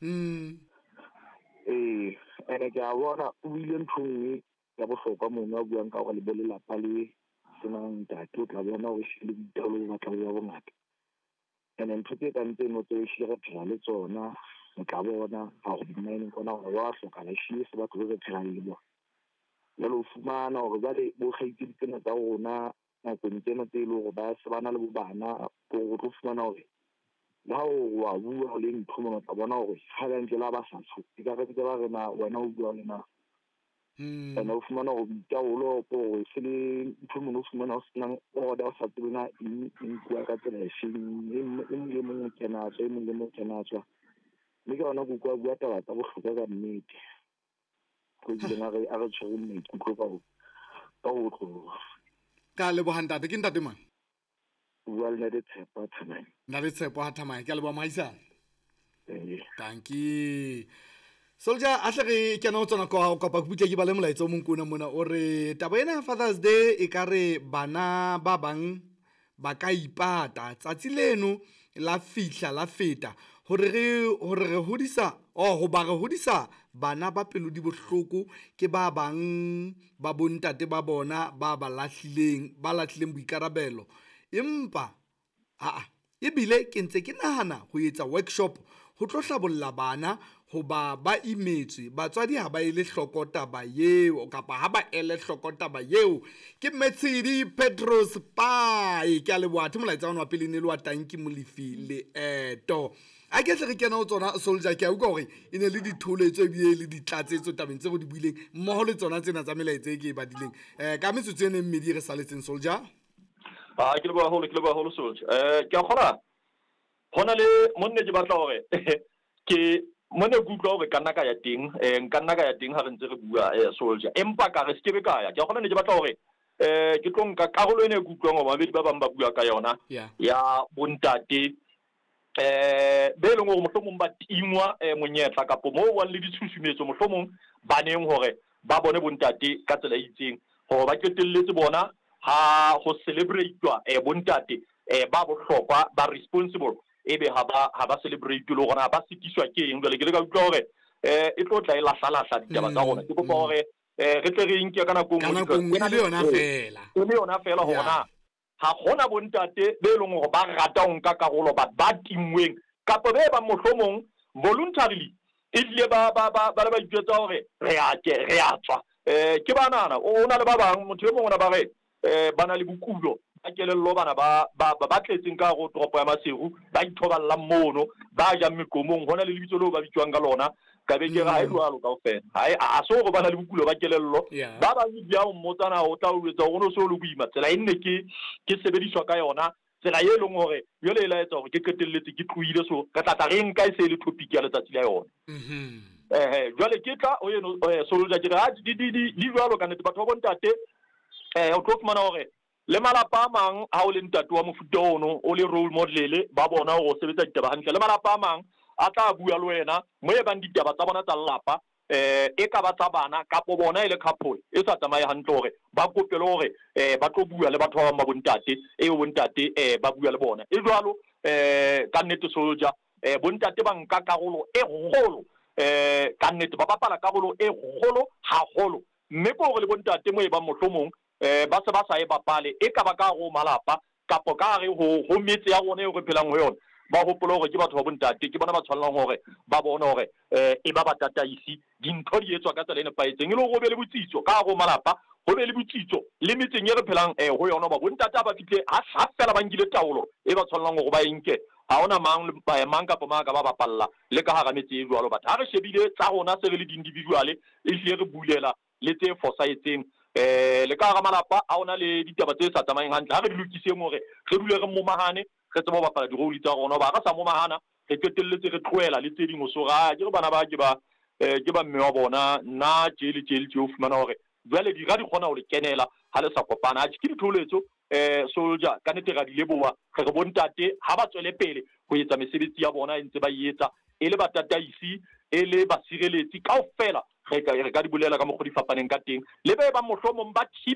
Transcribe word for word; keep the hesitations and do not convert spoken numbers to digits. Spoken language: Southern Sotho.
Mm. Ee, ene ke a bona o buile ntho e nngwe ya bohlokwa mono a buang ka hore le bo lelapa le senang ntate, o tla bona hore ehlile boitaolo bo batla bo ba bongata. Ene ntho tse kang tseno tse ehlile re phela le tsona, o tla bona ha ho di-mine kwana hore wa hlokahala ehlile se batho be re phelang le bona. Jwale o fumana hore jwale bo kgaitsedi tsena tsa rona nakong tsena tse leng hore ba se ba na le bo bana, o tlo fumana hore le ha o wa bua le ntho mona, o tla bona hore ha ba ntse le ha ba sa tsho ekare ntse ba re na wena o bua le mang. Mm. Ene o fumana hore boitaolo ke hore se le ntho mona o fumana o senang order, o sa tsebe na eng e nkuwa ka tsela e feng, e mong le mong o kena tswa, e mong le mong o kena tswa. Mme ke yona ke utlwa a bua taba tsa bohlokwa ka nnete. Ko bileng a re a re tshwere maikutlo ka ho ka ho otloloha. Ka leboha ntate, ke ntate mang? O bua le Ntate Tshepo Thamane. Ntate Tshepo ha Thamane, ke a leboha mohaisane. Ee. Dankie. Soldier, a hle re kena ho tsona kwa kopa ke butle ke bale molaetsa o mong kona mona o re taba ena ya Father's Day e ka re bana ba bang ba ka ipata tsatsi leno la fihla la feta hore re hore re hodisa oh hoba re hodisa bana ba pelo di bohloko ke ba bang ba bontate ba bona ba ba lahlileng ba lahlileng boikarabelo empa aa ebile ke ntse ke nahana ho etsa workshop ho tlo hlabolla bana hoba ba imetswe batswadi ha ba ele hloko taba eo kapa ha ba ele hloko taba eo. Ke Metshidi Petros Pai, ke a leboha. Athe molaetsa ona wa pele ne le wa Tanki Molefi Leeto. A ke tle re kena ho tsona Soldier, ke a utlwa hore e ne le ditholetso ebile le ditlatsetso tabeng tse re di buileng mmoho le tsona tsena tsa melaetsa e ke e badileng. Eh, ka metsotso e neng mmedi re saletseng Soldier. Ah, ke leboha haholo, ke leboha haholo Soldier. Eh, ke a kgona hona le monne ke batla hore ke mone ke utlwa hore ka nna ka ya teng, eh nka nna ka ya teng ha re ntse re bua eh Soldier. Empa ka re skebe ka ya. Ke a kgona ne ke batla hore eh ke tlo nka karolo ena e ke utlwang hore babedi ba bang ba bua ka yona ya bontate eh be leng hore mohlomong ba tingwa eh monyetla kapo moo wa le ditshusumetso mohlomong baneng hore ba bone bontate ka tsela e itseng hore ba qetelletse bona ha ho celebrate-wa eh bontate eh ba bohlokwa ba responsible ebe ha ba ha ba celebrate le hore ba sitiswa ke eng. Jwale ke le ka utlwa hore eh e tlo tla e lahla-lahla ditaba tsa rona. Ke kopa hore eh re tle re nke ka nako nngwe e le yona fela e le yona fela hore na ha hona bontate be leng hore ba rata ho nka karolo ba ba tingweng kapa be ba mohlomong voluntarily ebile ba ba ba ba ba itjwetsa hore re a ke re a tswa. Eh ke banana o na le ba bang motho e mongwe ona ba re eh ba na le bokulo ba kelello bana ba ba ba tletseng ka hare ho toropo ya Maseru ba ithoballang mono ba jang meqomong hona le lebitso leo ba bitswang ka lona ka be ke re ha e jwalo kaofela ha e a so hore ba na le bokulo ba kelello ba bang di a o mmotsana o tla o etsa hore o so le boima tsela e nne ke ke sebediswa ka yona tsela e leng hore jwale e la etsa hore ke qetelletse ke tlohile so re tla tla re nka e se le topic ya letsatsi la yona. Eh jwale ke tla o eno Soldier ke re ha di di di jwalo ka nnete batho ba bontate eh o tlo fumana hore le malapa a mang ha o le ntate wa mofuta ono o le role model ba bona hore o sebetsa ditaba hantle le malapa a mang a tla bua le wena mo e bang ditaba tsa bona tsa lelapa eh e ka ba tsa bana kapo bona e le couple e sa tsamaye hantle hore ba kopele hore eh ba tlo bua le batho ba bang ba bontate e bontate eh ba bua le bona e jwalo eh ka nnete Soldier eh bontate ba nka karolo e kgolo eh ka nnete ba bapala karolo e kgolo haholo mme ke hore le bontate mo e bang mohlomong eh ba se ba sa e bapale e ka ba ka ho malapa kapo ka re ho ho metse ya rona e re phelang ho yona ba hopola hore ke batho ba bontate ke bona ba tshwanelang hore ba bone hore eh e ba ba tataisi dintho di etswa ka tsela e nepahetseng e le hore ho be le botsitso ka hare ho malapa ho be le botsitso le metseng e re phelang eh ho yona ba bontate ba fihle ha ha fela ba nkile taolo e ba tshwanelang hore ba e nke ha hona mang mang kapa mang ka ba bapalla le ka hara metse e jwalo. Batho ha re shebile tsa rona se re le di-individual e hlile re bulela le tse fosahetseng eh le ka hara malapa ha hona le ditaba tse sa tsamayeng hantle ha re di lokiseng hore re dule re momahane re tsebe ho bapala di-role tsa rona hoba ha re sa momahana re qetelletse re tlohela le tse ding ho so ra ke re bana ba ke ba eh ke ba mme wa bona nna tje le tje le tje o fumana hore jwale dira di kgona ho le kenela ha le sa kopana. Atjhe ke ditholetso eh Soldier ka nnete ra di leboha re re bontate ha ba tswele pele ho etsa mesebetsi ya bona e ntse ba e etsa e le batataisi e le basireletsi kaofela re ka re ka di bolela ka mokgwa di fapaneng ka teng le be ba mohlomong ba thibe